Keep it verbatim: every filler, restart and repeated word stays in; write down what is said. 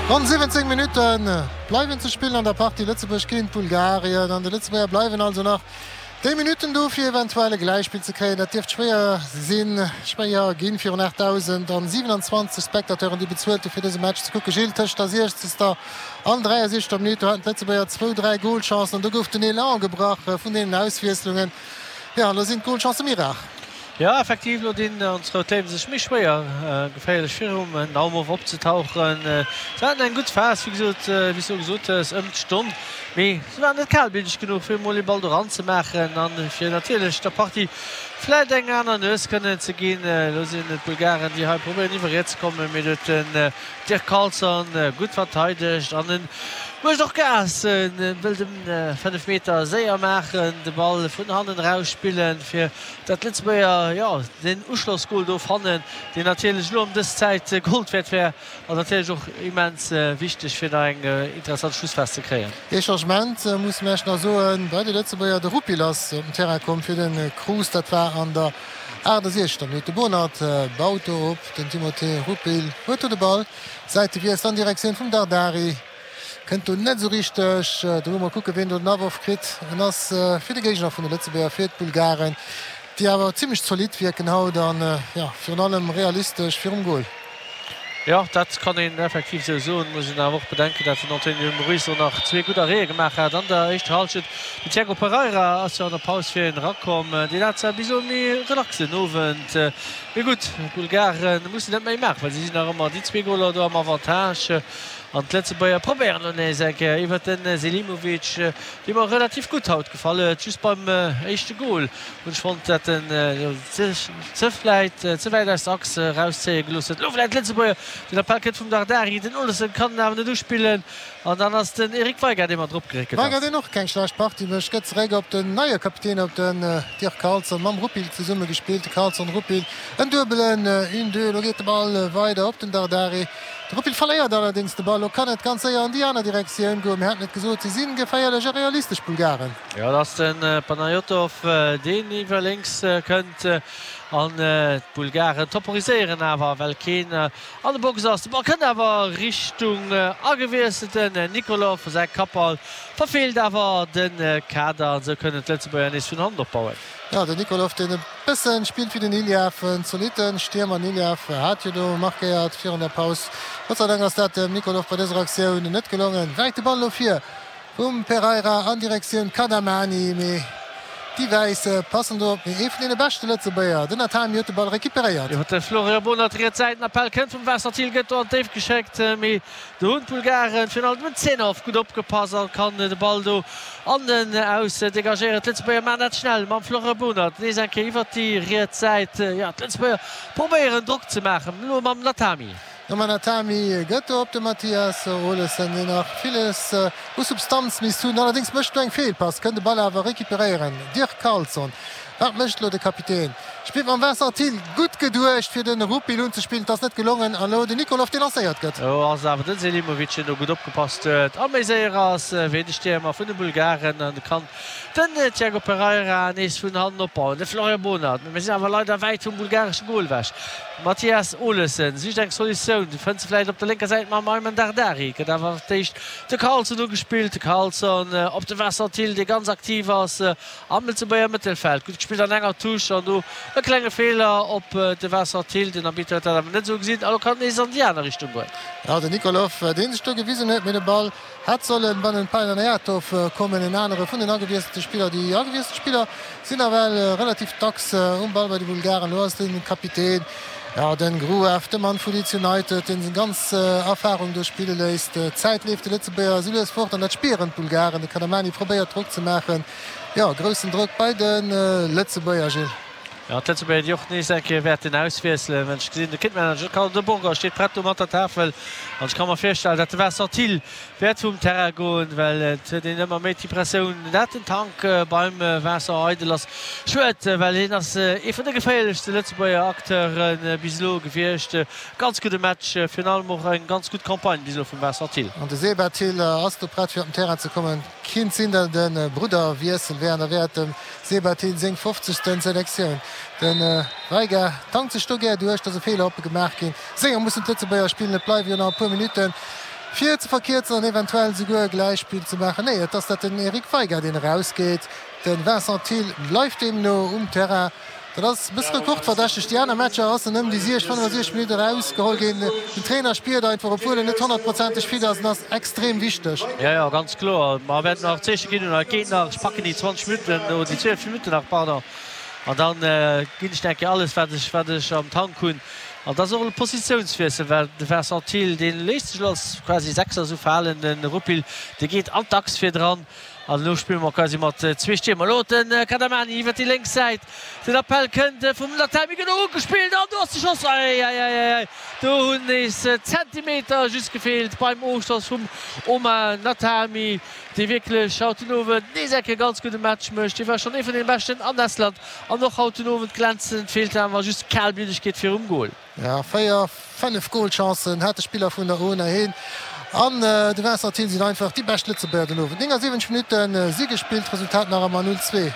Ronn siwwenzéng Minutte bleiwen ze spillen an der Partie Lëtzebuerg géint Bulgarien an de Lëtzebuerger bleiwen also nach déi Minutten do fir eventuell e Gläichspill ze kréien. Dat dierft schwéier sinn, schwéier ginn virun aachtdausendsiwenanzwanzeg Spectateuren, déi bezuelt hu fir dëse Match ze kucken. Gilles, tëscht der siechzegster an dräiasiechzegster Minutt, do haten d'Lëtzebuerger zwou, dräi Golchancen an do gouf den Elan gebrach vun deenen Auswiesslungen. Jo, elo sinn d'Golchancë méi rar. Jo, effektiv, elo dinn ons Rout Léiwen sech méi schwéier, geféierlech virum Naumov opzetauchen. Se haten eng gutt Phas, wéi gesot, wéi s du gesot hues, ëm d'Stonn, mee se waren net kalbliddeg genuch, fir emol ee Ball do eranzemaachen an fir natierlech der Partie vläit eng aner Nues kënnen ze ginn. Elo sinn et d'Bulgaren, déi hei probéieren iwwer riets ze kommen, mee do huet den Dirk Carlson gutt verteidegt an en mécht och Gas, en wëll de fënnef Meter séier maachen, de Ball vun hannen eraus spillen, fir datt d'Lëtzebuerger, jo, den Uschlossgol do fannen, deen natierlech elo ëm dës Zäit Gold wäert wär an natierlech och immens wichteg, fir nach eng interessant Schlussphas ze kréien. Ee Changement musse mer Iech nach soen bei de Lëtzebuerger, De Rupil ass op den Terrain komm fir de Cruz, dat war an der aachtasechzegster Minutt. De Bonert baut do op, den Timothé Rupil huet do de Ball, Säitewiessel an Direktioun vum Dardari. Kënnt do net esou richteg dru. Mol kucken, wien do den Aworf kritt. En ass fir de Géigner vun de Lëtzebuerger, fir d'Bulgaren, déi awer zimmlech zolidd wierken haut an, jo, virun allem realistesch virum Gol. Jo, dat kann een effektiv esou soen. Muss een awer och bedenken, dat den Antonio Ruiz och nach zwee gutt Arrêtë gemaach hat an der éischter Hallschent. Den Tiago Pereira ass jo an der Paus fir hien erakomm. Deen hat zwar bis elo e méi relaxen Owend, mee gutt, d'Bulgare mussen net méi maachen, well si sinn nach ëmmer déi zwee Goler do am Avantage. An d'Lëtzebuerger probéieren elo nees eng Kéier iwwert de Selimovic, dee mer relativ gutt haut gefall huet. Just beim éischte Gol hunn ech fonnt, dat en ze vläit ze wäit aus der Achs erauszéie gelooss huet. Elo vläit d'Lëtzebuerger, den Appell kënnt vum Dardari, den Olesen kann en awer net uspillen an dann ass den Eric Veiga, dee mat drop geréckelt ass. Veiga, deen och keng schlecht Partie mécht, gëtt zeréck op den neie Kapitän, op den Dirk Carlson, mam Rupil zesumme gespillt. De Carlson, Rupil, en duebelen Une-deux. Elo geet de Ball weider op den Dardari. De Rupil verléiert allerdéngs de Ball. Lo kann et ganz séier an déi aner Direktioun goen. Mir haten et gesot, si si geféierlech a realistesch Bulgaren. Jo, et ass de Panayotov, deen iwwer lénks kënnt an d'Bulgaren temporiséieren awer, well keen an der Box ass. De Ball kënnt awer Richtung agewiesselten Nikolov. Säi Kappball verfeelt awer de Kader an esou kënnen d'Lëtzebuerger nees vun hannen opbauen. Jo, den Nikolov, deen e bëssen spillt wéi den Iliev, en zolitten Stiermer. Den Iliev hat jo do markéiert virun der Paus. Gott sei Dank ass dat dem Nikolov bei dëser Aktioun net gelongen. Wäit de Ball elo vir vum Pereira an Direktioun Kadamani, mee déi Wäiss passen do op. Mee ee vun deene beschte Lëtzebuerger, den Natami, huet de Ball recuperéiert. Iwwer de Florian Bohnert, riets Säit, den Appell kënnt vum Vincent Thill, gëtt do an d'Déift geschéckt, mee do hunn d'Bulgaren virun allem den Zenov gutt opgepasst a kann de Ball do an den Aus degagéieren. D'Lëtzebuerger maachen dat schnell mam Florent Bohnert nees eng Kéier iwwert déi riets Säit. Jo, d'Lëtzebuerger probéieren Drock ze maachen, elo mam Natami. De Natami gëtt do op de Mathias Olesen, deen nach villes u Substanz misst hunn. Allerdéngs mécht do eng Feelpass, kënnt de Ball awer recuperéieren. Dirk Carlson. Wat mécht elo de Kapitän? Spillt mam Vincent Thill. Gutt geduecht fir de Rupil unzespillen, et ass net gelongen. An elo den Nikolov, dee lancéiert gëtt. Do ass awer den Selimovic, deen do gutt opgepasst huet a méi séier ass wéi de Stiermer vun de Bulgaren. An kann den Tiago Pereira nees vun hannen opbauen. De Florian Bohnert, mee mir sinn awer leider wäit vum bulgaresche Gol ewech. Mathias Olesen sicht eng Solutioun, fënnt se vläicht op der lénker Säit mam Aymen Dardari. Gëtt awer fir d'éischt de Carlson ugespillt. De Carlson op de Vincent Thill, dee ganz aktiv ass am Lëtzebuerger Mëttelfeld. Gutt gespillt an enger Touche an do e klenge Feeler op de Vincent Thill. Den Arbitter huet dat awer net esou gesinn a lo kann et nees an déi aner Richtung goen. Jo, den Nikolov, dee sech do gewisen huet, mee de Ball hätt solle bei den Panayotov kommen, en anere vun den agewiesselte Spiller. Déi agewiesselt Spiller sinn nawell relativ dacks um Ball bei de Bulgaren. Elo ass de Kapitän, jo, den Gruev, de Mann vu Leeds United, deen seng ganz Erfarung do spille léisst. D'Zäit leeft de Lëtzebuerger esou lues fort an dat spieren d'Bulgaren. De Kadamani probéiert Drock ze maachen. Jo, groussen Drock bei de Lëtzebuerger, Gilles. Jo, d'Lëtzebuerger, déi och nees eng Kéier wäerten auswiesselen, well ech gesinn, de Kitmanager Carlo de Burger steet prett do mat der Tafel an ech ka mer virstellen, dat de Vincent Thill wäert vum Terrain goen, well et huet een ëmmer méi d'Impressioun, dat den Tank beim Vincent eidel ass. Schued, well hien ass ee vun de geféierlechste Lëtzebuerger Acteure bis elo gewiescht. Ganz gudde Match, virun allem och eng ganz gutt Campagne bis elo vum Vincent Thill. An de Seba Thill ass do prett fir op den Terrain ze kommen. Kinnt sinn dat et e Brudderwiessel wär an da wär et dem Seba Thill seng fofzegsten Selektioun. De Veiga tankt sech do gär duerch, et ass e Feeler oppe gemaach ginn. Séier mussen d'Lëtzebuerger spillen, et bleiwe jo nach e puer Minutten fir ze verkierzen an eventuell souguer Gläichspill ze maachen. Nee, et ass dat den Eric Veiga, deen erausgeet. De Vincent Thill bleift deemno um Terrain. Dat ass e bësse rekordverdächteg. Déi aner Matcher ass en ëm déi siech, fënnefasiechzeg Minutte erausgeholl ginn. Den Trainer spiert einfach, obwuel en net honnertprozenteg fit ass, en ass extrem wichteg. Jo, jo, ganz kloer. Mer wäerten nach Zeeche ginn un eis Géigner. Ech packen déi zwanzeg Minutten, oder déi zwielef Minutten nach, pardon, an dann ginn ech eng Kéier alles, wat ech, wat ech am Tank hunn. An et ass och e Positiounswiessel, well de Vincent Thill, dee léisst sech elo als quasi Sechser esou verhalen. De Rupil, dee geet an d'Achs virdran. An elo spille mer quasi mat zwee Stiermer. Elo de Kadamani iwwer déi lénks Säit. Den Appell kënnt vum Natami, gëtt och ugespillt an do ass de Schoss. Ei, ei, ei, ei, ei, do hunn nees Zentimeter just gefeelt beim Ofschoss vum Omar Natami, dee wierklech haut den Owend nees eng Kéier ganz gudde Match mécht. Hie war schonn ee vun deene Beschten an Estland an och haut den Owend glänzend. Feelt awer just d'Kalbliddegkeet virum Gol. Jo, véier, fënnef Golchancen hat de Spiller vun der ona. Hien an de Vincent Thill sinn einfach déi bescht Lëtzebuerger den Owend. néngasiwwenzeg Minutte si gespillt, Resultat nach ëmmer null zwee.